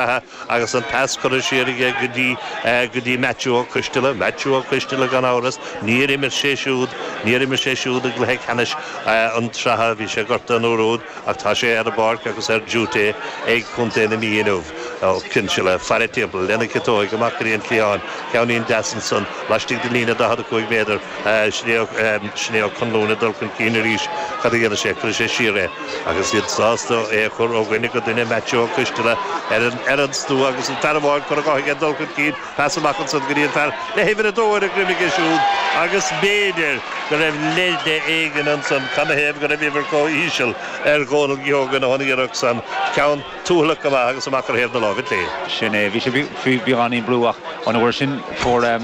Agus an pas curtha siar aige go dtí, go dtí Maitiú Ó Coisteala, Maitiú Ó Coisteala gan amhras, níor imir sé siúd, níor imir sé siúd i gcluiche ceannais an tsraithe, bhí sé gortaithe an uair úd ach tá sé ar an bpáirc agus ar duty ag Contae na Mí inniu. Ó Cinnseala, faire timpeall lena chiotóig amach go dtí an cliathán, ceainnín deas ansan laistigh den líne 45 méadar, Sin é Ó Conluain ag dul chun cinn arís. Cad a dhéanfaidh sé? Cuirfidh sé siar é. Agus iad sásta é a chur ó dhuine go duine, Maitiú Ó Coisteala ar an stua agus an fear amháin curtha dhe aige ag dul chun cinn. Pas amach ansan go dtí an fear le huimhir a dó ar a dhroim aige siúd agus b'fhéidir go raibh leide éigin ansan. Canathaobh go raibh uimhir chomh híseal ar Dhónal Keogan ón iarracht san? Ceann tuathalach go maith agus amach ar thaobh na láimhe clé. Sin é. Bhí sé faoi bheagáinín brú ach an uair sin fuair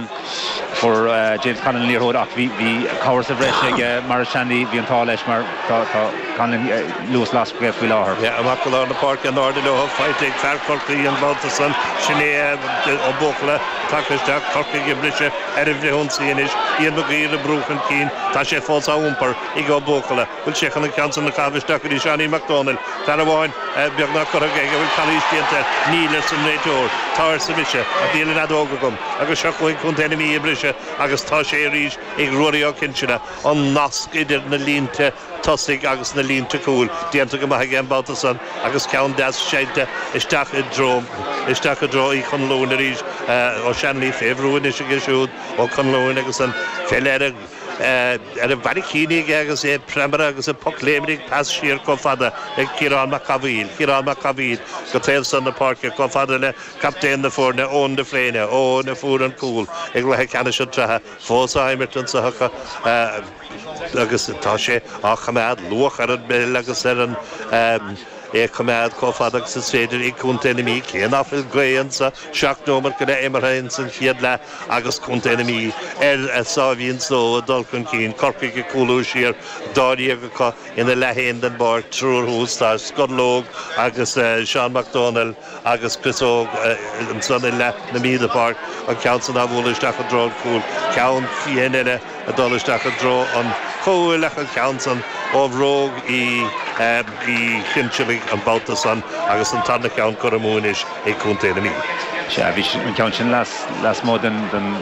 fuair James Conlon an liathróid ach bhí bhí cabhair sa bhreis ag Maurice Shanley, bhí an t-ádh leis mar tá tá Conlon luas lasrach aige faoi láthair. Yeah, amach go lár na páirce in airde leo, faighte ag fear Chorcaí an babhta san, sin é Ó Buachalla tagtha isteach, Corcaigh ag briseadh ar an bhfrithionsaí anois, Ian Maguire ag brú chun cinn, tá sé fós á iompar ag Ó Buachalla. Bhfuil sé chun an ceann san a chaitheamh isteach go dtí Seáinín Mac Dónaill? Fear amháin beagnach curtha aige, an bhfuil calaois déanta air? Níl, arsa an réiteoir. Tá, arsa mise, ach níl an fheadóg agam. Agus seo chugainn Contae na Mí ag briseadh agus tá sé arís ag Ruairí Ó Cinnseala, an nasc idir na línte tosaigh agus na línte cúil déanta go maith aige an babhta san agus ceann deas seinnte isteach i dtreo, isteach i dtreo Uí Chonluain arís. Ó Shanley fé bhrú anois aige siúd, Ó Conluain agus an pheil ar a. ar a bharraicíní aige agus é ag preabadh agus ag pocléimnigh pas siar chomh fada le Ciarán Mac Cathmhaoil, Ciarán Mac Cathmhaoil go taobh san na páirce chomh fada le captaen na foirne, Eoin de Fréine, Eoin a fuair an cúl i gcluiche ceannais an tsraithe, fós á imirt anso acu agus tá sé á choimeád luach ar an bpeil agus ar an. É a choimeád chomh fada agus is féidir ag Contae na Mí, cé ná fuil gaoth anso, 7 neomat go leith imeartha ins an chéad leath agus Contae na Mí ar a sáimhín só ag dul chun cinn, Corcaigh ag cúlú siar, dáréag acu ina leath féin den bpáirc, triúr thuas, tá Scorlóg agus Seán Mac Dónaill agus Chris Óg ansan i leath na Mí den pháirc, an ceann san á bhualadh isteach i dtreo an chúil, ceann fiáin eile. ag dul isteach i dtreo an chúil ach an ceann san ó bhróg Uí Chinsealaigh an babhta san agus an tarna ceann curtha amú anois ag Contae na Mí. Sea, bhí an ceann sin lasmuigh den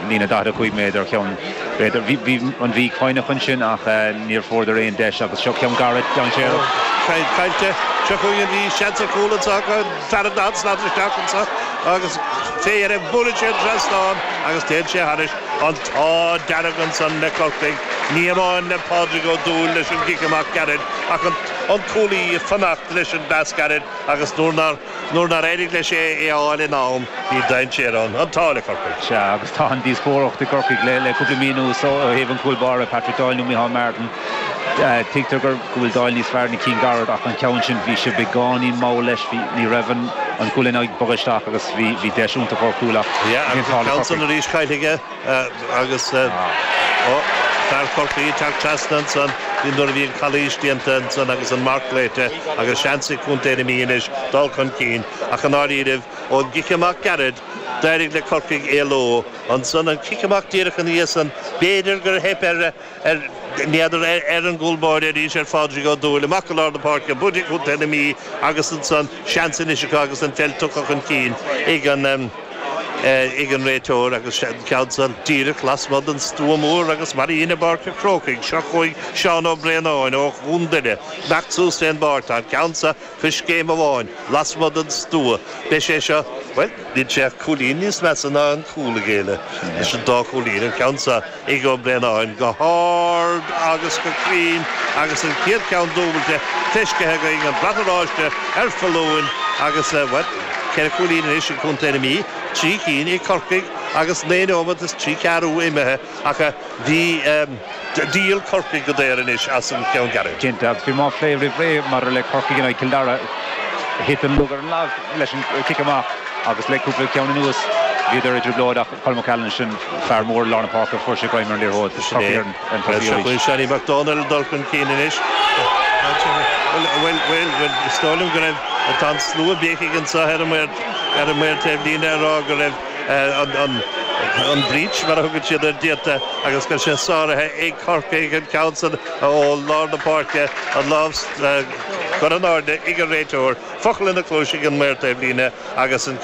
líne 45 méadar, ceann, b'fhéidir, bhí an Mhí foighneach ansin ach níor fuaireadar aon deis agus seo ceann gairid, dainséarach. Caillte, seo chugainn an Mhí, seans ar chúl anseo acu, fear an daichead slat isteach anseo agus fé dheireadh buaileann sé an trasnán agus téann sé thairis. An t-ádh dearg ansan le Corcaigh, ní amháin le Pádraig Ó Dúill leis an gcic amach gairid ach an cúlaí ag fanacht leis an bpas gairid agus nuair nár nuair nár éirigh leis é a fháil in am, bhí dainséar ann. An t-ádh le Corcaigh. Sea, agus tá an díospóireacht i gCorcaigh le cúpla mí anuas ó thaobh an chúl báire, Patrick Doyle nó Micheál Martin. Tuigtear go bhfuil Doyle níos fearr na cinn gairid ach an ceann sin, bhí sé beagáinín mall leis, bhí, ní raibh an an ghualainn ag bogadh isteach agus bhí, bhí deis iontach ar chúl ach Yeah, agus an ceann san arís caillte aige agus ó, fear Chorcaí ag teacht trasna ansan nuair a bhí an calaois déanta ansan agus an marc glaoite agus seans ag Contae na Mí anois dul chun cinn ach i ndáiríribh ón gcic amach gairid d'éirigh le Corcaigh éaló ansan an cic amach díreach ina dhiaidh san b'fhéidir gur theip ar Ar, n'fheadar, ar an gcúl báire arís ar Phádraig Ó Dúill, amach go lár na páirce, buaite ag Contae na Mí agus ansan seans anois acu agus an pheil tugtha chun cinn ag an ag an réiteoir agus an ceann san díreach lasmuigh den stua mór agus mar a dhein i bPáirc an Chrócaigh. Seo chugainn Seán Ó Braonáin ó Dhún Doire, imeacht suas fén bpáirc. Tá an ceann seo coiscéim amháin lasmuigh den stua. Beidh sé seo, bhuel, níl sé ach cúilín níos measa ná an cúl a géilleadh leis an dá chúilín, an ceann seo ag Ó Braonáin go hard agus go cruinn agus an chéad cheann dúbailte feiscithe againn, an brat oráiste ar foluain agus, bhuel, ceithre chúilín anois ag Contae na Mí, trí cinn ag Corcaigh agus 9 nóiméad is trí ceathrú imithe ach bhí díol Corcaigh go daor anois as an cheann gairid. Cinnte, agus bhí mé á phlé roimh ré maidir le Corcaigh in aghaidh Chill Dara, thit an lug ar an lámh leis an cic amach agus le cúpla ceann anuas bhíodar i dtrioblóid ach Colm McCallan sin fear mór lár na páirce, fuair sé greim ar an liathróid. Sin é. Seo chugainn Seánie Mac Dónaill ag dul chun cinn anois. Bhuel, bhuel, bhuel, is dóigh liom go raibh, tá an slua béicigh anseo ar an maor, ar an maor taobhlíne ag rá go raibh an, an, an breach, mar a thugann siad air, déanta agus go raibh sé sáraithe ag Corcaigh, an ceann san ó lár na páirce, an lámh. Curtha in airde ag an réiteoir, focal ina chluais ag an maor taobhlíne agus an cic.